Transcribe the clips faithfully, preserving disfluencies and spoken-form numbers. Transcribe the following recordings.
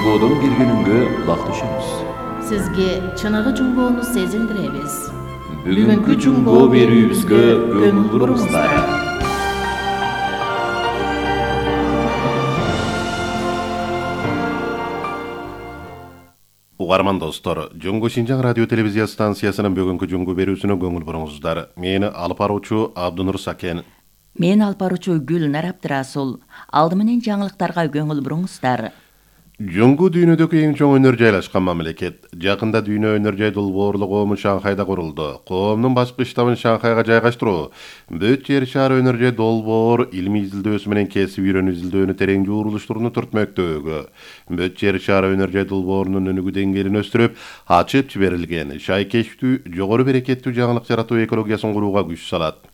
Жумбодон келгениңге бактышабыз. Сизге чыныгы жумбоону сезилдиребиз. Бүгүнкү жумбоо берүүбүзгө көңүл буруңуздар. Угарман достор, Жуңгу Шинжаң радио телевизия станциясынын бүгүнкү жуңгу берүүсүнө көңүл буруңуздар. Мени алып баруучу Абдунур Сакен. Мен алып баруучу Гүлнар Абдырасул. Алды менен жаңылыктарга көңүл буруңуздар. Жуңгу дүйнөдөгү эң чоң өнөр жайлашкан мамлекет. Жакында дүйнө өнөр жай долбоорлук коому Шанхайда курулду. Коомдун башкы штабын Шанхайга жайгаштыруу бүт жер шары өнөр жай долбоор илимий изилдөөсү менен кесип үйрөнүү изилдөөнү терең жуурулуштурууну түртмөктөөгө. Бүт жер шары өнөр жай долбоорунун өнүгүү деңгээлин өстүрүп, ачып жиберилген шайкечтүү, жогору берекеттүү жаңылык жаратуу экологиясын курууга күч салат.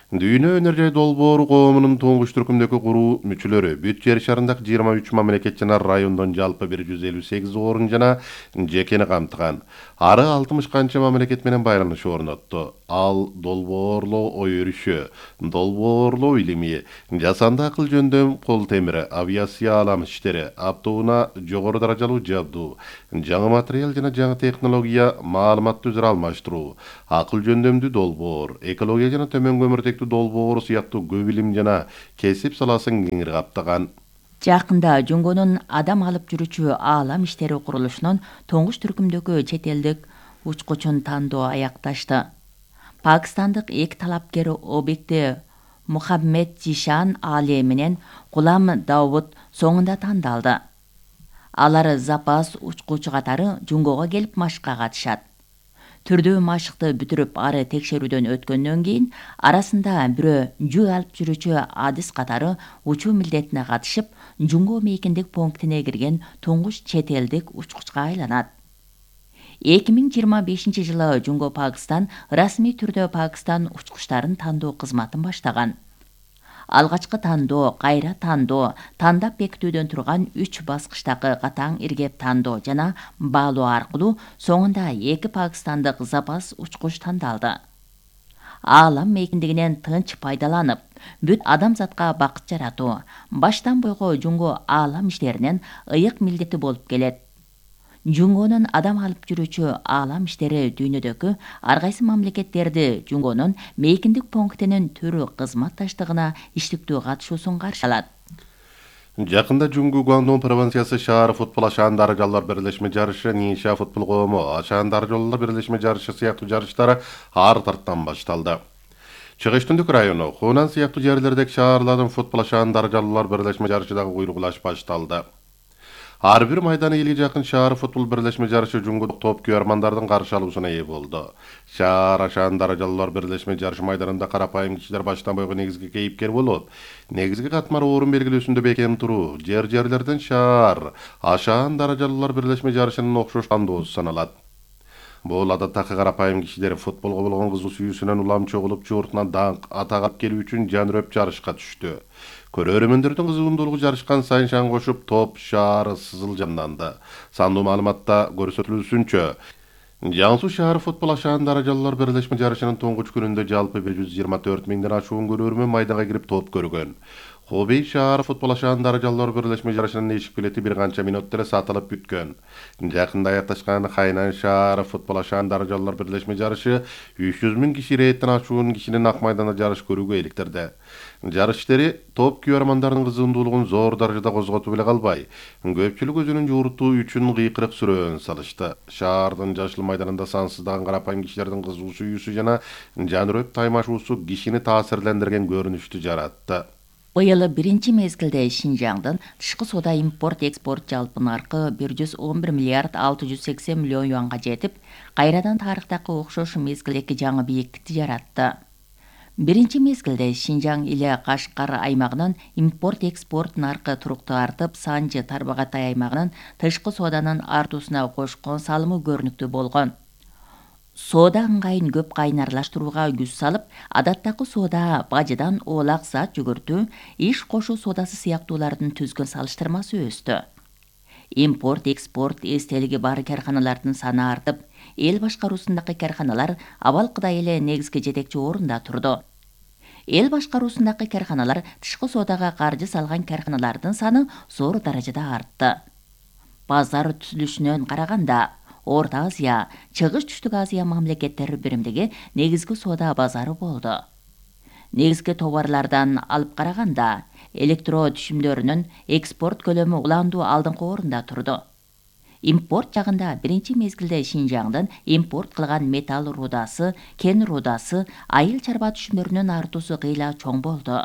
Дүйнө өнөр жай долбоору коомунун туңгуч түркүмдөгү куруу мүчөлөрү бүт жер шарындагы жыйырма үч мамлекет жана райондон жалпы бир жүз элүү сегиз орун жана жекени камтыган. Ары алтымыш канча мамлекет менен байланыш орнотту. Ал долбоорлоо ой өрүшү, долбоорлоо илими, жасанды акыл жөндөм кол темири, авиация алам иштери, автоунаа жогору даражалуу жабдуу, жаңы материал жана жаңы технология, маалыматты өзара алмаштыруу, акыл жөндөмдүү долбоор, экология жана төмөн көмүртек долбоору сыяктуу көп илим жана кесип саласын кеңири каптаган. Жакында Жуңгунун адам алып жүрүүчү аалам иштери курулушунун туңгуч түркүмдөгү чет элдик учкучун тандоо аякташты. Пакистандык эки талапкер обекти Мухаммед Жишан Али менен Кулам Давуд соңунда тандалды. Алар запас учкучу катары Жуңгуга келип машыкка катышат. Түрдүү машыкты бүтүрүп ары текшерүүдөн өткөндөн кийин арасында бирөө жүк алып жүрүүчү адис катары учуу милдетине катышып, Жуңгу мейкиндик пунктине кирген туңгуч чет элдик учкучка айланат. эки миң жыйырма бешинчи жылы Жуңгу Пакистан расмий түрдө Пакистан учкучтарын тандоо кызматын баштаган. Алгачкы тандоо, кайра тандоо, тандап бекитүүдөн турган үч баскычтагы катаң иргеп тандоо жана баалоо аркылуу соңунда эки пакистандык запас учкуч тандалды. Аалам мейкиндигинен тынч пайдаланып, бүт адамзатка бакыт жаратуу баштан бойго Жуңгу аалам иштеринин ыйык милдети болуп келет. Жуңгунун адам алып жүрүүчү аалам иштери дүйнөдөгү ар кайсы мамлекеттерди Жуңгунун мейкиндик пунктинин түрү кызматташтыгына иштиктүү катышуусун каршы алат. Жакында Жуңгу Гуандун провинциясы шаар футбол ашаандары жаллар бирлешме жарышы, Ниша футбол коому ашаандары жаллар бирлешме жарышы сыяктуу жарыштары ар тарттан башталды. Чыгыш Түндүк району, Хунан сыяктуу жерлердеги шаарлардын футбол ашаандары жаллар бирлешме жарышы дагы куйругулаш башталды. Ар бир майданы элге жакын шаар футбол бирлешме жарышы Жуңгудук топ күйөрмандардын каршы алуусуна ээ болду. Шаар ашаандары жаллар бирлешме жарыш майданында карапайым кишилер баштан бойго негизги кейипкер болуп, негизги катмар орун белгилөөсүндө бекем туруу, жер-жерлерден шаар ашаандары жаллар бирлешме жарышынын окшош тандоосу саналат. Бул адаттагы карапайым кишилер футболго болгон кызуу сүйүүсүнөн улам чогулуп, жууртунан даңк, атак алып келүү үчүн жанырөп жарышка түштү. Көрөрмөндөрдүн кызыгундуулугу жарышкан сайын шаң кошуп, топ шаары сызыл жанданды. Сандуу маалыматта көрсөтүлүүсүнчө, Жаңсу шаар футбол ашаандары жаллар бирлешме жарышынын туңгуч күнүндө жалпы бир жүз жыйырма төрт миңден ашуун көрөрмөн майданга кирип топ көргөн. Хобей шаар футбол ашаандары жаллар бирлешме жарышынын эшик билети бир канча мүнөттө эле сатылып бүткөн. Жакында аякташкан Хайнан шаар футбол ашаандары жаллар бирлешме жарышы үч жүз миң киши рейттен ашуун кишинин ак майданда жарыш көрүүгө иликтирди. Жарыш иштери топ күйөрмандардын кызыгундуулугун зор даражада козготуп эле калбай, көпчүлүк өзүнүн жууртуу үчүн кыйкырык сүрөөн салышты. Шаардын жашыл майданында сансыздаган карапайым кишилердин кызуу сүйүүсү жана жанырөп таймашуусу кишини таасирлендирген көрүнүштү жаратты. Быйыл биринчи мезгилде Шинжаңдын тышкы соода импорт-экспорт жалпы наркы бир жүз он бир миллиард алты жүз сексен миллион юанга жетип, кайрадан тарыхтагы окшош мезгилдеги жаңы бийиктикти жаратты. Биринчи мезгилде Шинжаң иле Кашкар аймагынын импорт-экспорт наркы туруктуу артып, Санжы Тарбагатай аймагынын тышкы сооданын артуусуна кошкон салымы көрүнүктүү болгон. Соода ыңгайын көп кайнарлаштырууга күч салып, адаттагы соода бажыдан оолак зат жүгүртүү, иш кошуу соодасы сыяктуулардын түзгөн салыштырмасы өстү. Импорт-экспорт эстелиги бар карханалардын саны артып, эл башкаруусундагы карханалар абалкыдай эле негизги жетекчи орунда турду. Эл башкаруусундагы карханалар тышкы соодага каржы салган карханалардын саны зор даражада артты. базар түзүлүшүнөн караганда Орто Азия, Чыгыш Түштүк Азия мамлекеттери биримдиги негизги соода базары болду. Негизги товарлардан алып караганда, электро түшүмдөрүнүн экспорт көлөмү уландуу алдыңкы орунда турду. Импорт жагында биринчи мезгилде Шинжаңдын импорт кылган металл рудасы, кен рудасы, айыл чарба түшүмдөрүнүн артуусу кыйла чоң болду.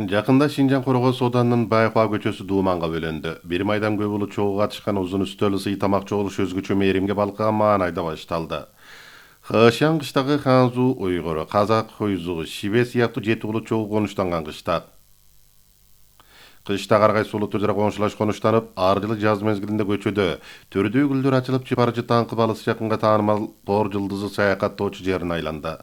Жакында Шинжаң Коргоо сооданын Байкуа көчөсү дууманга бөлөндү. Бир майдан көп улут чогуу катышкан узун үстөл сый тамак чогулуш өзгөчө мээримге балкыган маанайда башталды. Хэшан кыштагы Ханзу уйгуру, Казак хуйзу, Шибе сыяктуу жети улут чогуу конуштанган кышта. Кышта кар кайсы улут өзара коңшулаш конуштанып, ар жылы жаз мезгилинде көчөдө төрдүү гүлдөр ачылып, чыпарчы таңкы балысы жакынга таанымал Тор жылдызы саякаттоочу жерин айланды.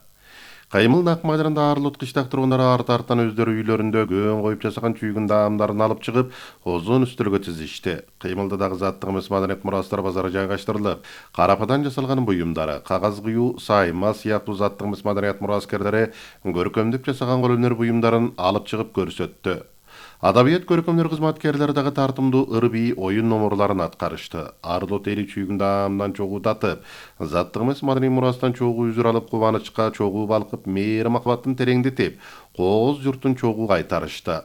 Каймыл нак майдарында ар улут кыштак тургундары арт-арттан өздөрү үйлөрүндө көөн коюп жасаган чүйгүн даамдарын алып чыгып, озон үстөлгө тизишти. Кыймылда дагы заттык эмес маданият мурастар базары жайгаштырылып, карападан жасалган буюмдары, кагаз кыюу, сайма сыяктуу заттык эмес маданият мураскерлери көркөмдөп жасаган кол өнөр буюмдарын алып чыгып көрсөттү. Адабият көркөмдөр кызматкерлери дагы тартымдуу ыр-бий оюн номурларын аткарышты. Ар улут эли чүйгүн даамдан чогуу татып, заттык эмес маданий мурастан чогуу үзүр алып, кубанычка чогуу балкып, мээрим махаббатын тереңдетип, кооз журтун чогуу кайтарышты.